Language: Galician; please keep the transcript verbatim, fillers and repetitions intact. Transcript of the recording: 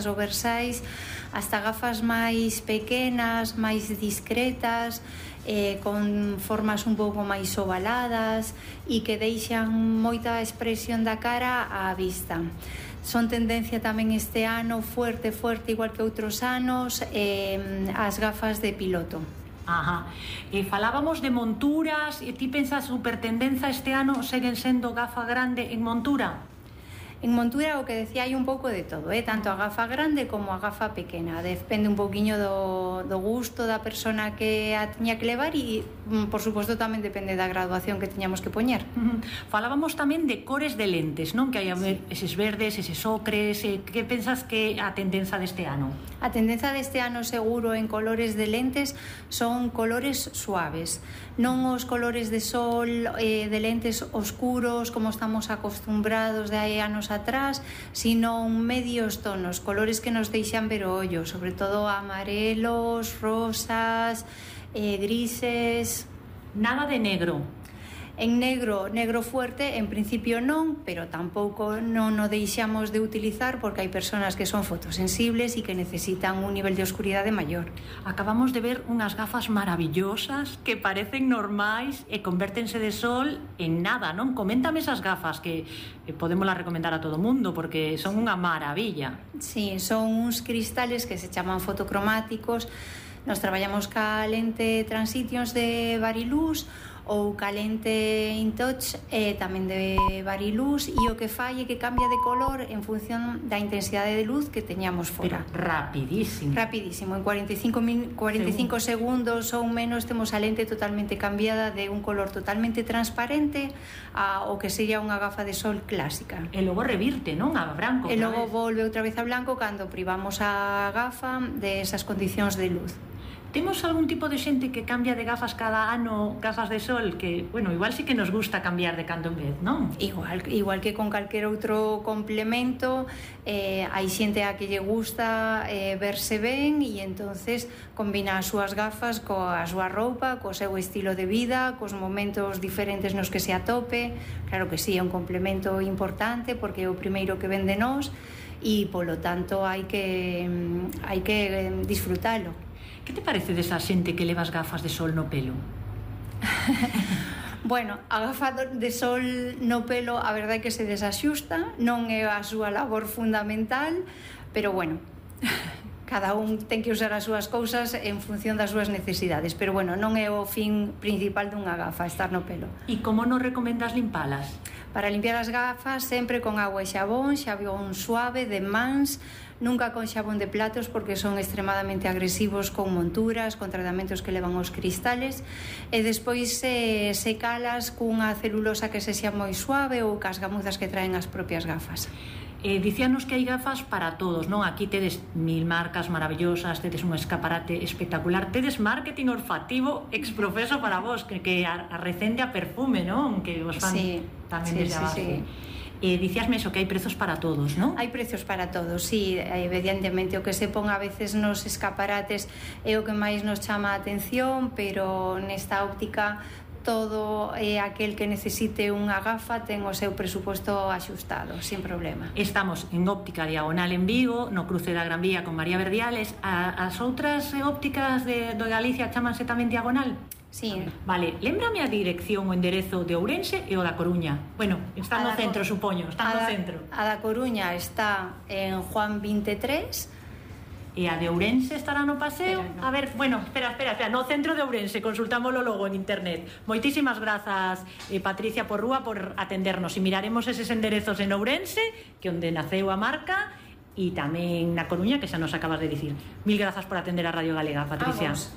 oversize, hasta gafas máis pequenas, máis discretas, eh, con formas un pouco máis ovaladas e que deixan moita expresión da cara á vista. Son tendencia tamén este ano fuerte, fuerte, igual que outros anos, eh, as gafas de piloto. Ajá. E falábamos de monturas, e ti pensas supertendenza este ano seguen sendo gafa grande en montura? En montura, o que decía, hai un pouco de todo, eh? Tanto a gafa grande como a gafa pequena. Depende un pouquiño do, do gusto da persona que a tiña que levar e, por suposto, tamén depende da graduación que tiñamos que poñer. Uh-huh. Falábamos tamén de cores de lentes, non? Que hai sí. eses verdes, eses ocres. Eh, que pensas que a tendenza deste ano? A tendenza deste ano, seguro, en colores de lentes son colores suaves. Non os colores de sol, eh, de lentes oscuros, como estamos acostumbrados de hai anos atrás, sino medios tonos, colores que nos deixan ver o ollo, sobre todo amarelos, rosas, eh, grises. Nada de negro. En negro, negro fuerte, en principio non, pero tampouco non o deixamos de utilizar porque hai persoas que son fotosensibles e que necesitan un nivel de oscuridade maior. Acabamos de ver unhas gafas maravillosas que parecen normais e convértense de sol en nada, non? Coméntame esas gafas que podemos las recomendar a todo mundo porque son unha maravilla. Sí, son uns cristales que se chaman fotocromáticos. Nos traballamos ca lente Transitions de Varilux ou ca lente InTouch eh, tamén de Varilux, e o que fai é que cambia de color en función da intensidade de luz que teñamos fora. Pero rapidísimo. Rapidísimo, en cuarenta y cinco, cuarenta y cinco segundos ou menos temos a lente totalmente cambiada de un color totalmente transparente a o que sería unha gafa de sol clásica. E logo revirte, non? A branco. E logo volve outra vez a blanco cando privamos a gafa de esas condicións de luz. Temos algún tipo de xente que cambia de gafas cada ano, gafas de sol, que, bueno, igual sí que nos gusta cambiar de cando en vez, non? Igual, igual que con calquer outro complemento, eh, hai xente a que lle gusta eh, verse ben e entonces combina as súas gafas coa súa roupa, co seu estilo de vida, cos momentos diferentes nos que se atope. Claro que sí, é un complemento importante porque é o primeiro que vende nós e, polo tanto, hai que, hai que disfrutalo. Que te parece desa xente que leva as gafas de sol no pelo? Bueno, a gafa de sol no pelo a verdade é que se desaxusta, non é a súa labor fundamental, pero bueno, cada un ten que usar as súas cousas en función das súas necesidades, pero bueno, non é o fin principal dunha gafa, estar no pelo. E como nos recomendas limpalas? Para limpiar as gafas sempre con agua e xabón, xabón suave, de mans, nunca con xabón de platos porque son extremadamente agresivos con monturas, con tratamentos que levan os cristales, e despois eh, secalas cunha celulosa que se xa moi suave ou cas gamuzas que traen as propias gafas. Eh, dicíanos que hai gafas para todos, non? Aquí tedes mil marcas maravillosas, tedes un escaparate espectacular, tedes marketing olfativo exprofeso para vos, que, que arrecende a perfume, non? Que vos fan sí, tamén sí, desde sí, abajo. Sí. Eh, dicíasme eso, que hai prezos para todos, non? Hai prezos para todos, sí, evidentemente o que se pon a veces nos escaparates é o que máis nos chama a atención, pero nesta óptica todo eh, aquel que necesite unha gafa ten o seu presupuesto axustado, sin problema. Estamos en Óptica Diagonal en Vigo, no cruce da Gran Vía con María Verdiales. A, as outras ópticas de, de Galicia chamanse tamén Diagonal? Sí. Vale, lémbrame a dirección o enderezo de Ourense e o da Coruña. Bueno, está no centro, supoño, está no centro. A da Coruña está en Juan veintitrés. E a de Ourense estará no paseo? Espera, no. A ver, bueno, espera, espera, espera, no centro de Ourense, consultámoslo logo en internet. Moitísimas grazas, eh, Patricia Porrúa, por atendernos, e miraremos eses enderezos en Ourense, que onde naceu a marca, e tamén na Coruña, que xa nos acabas de dicir. Mil grazas por atender a Radio Galega, Patricia. Vamos.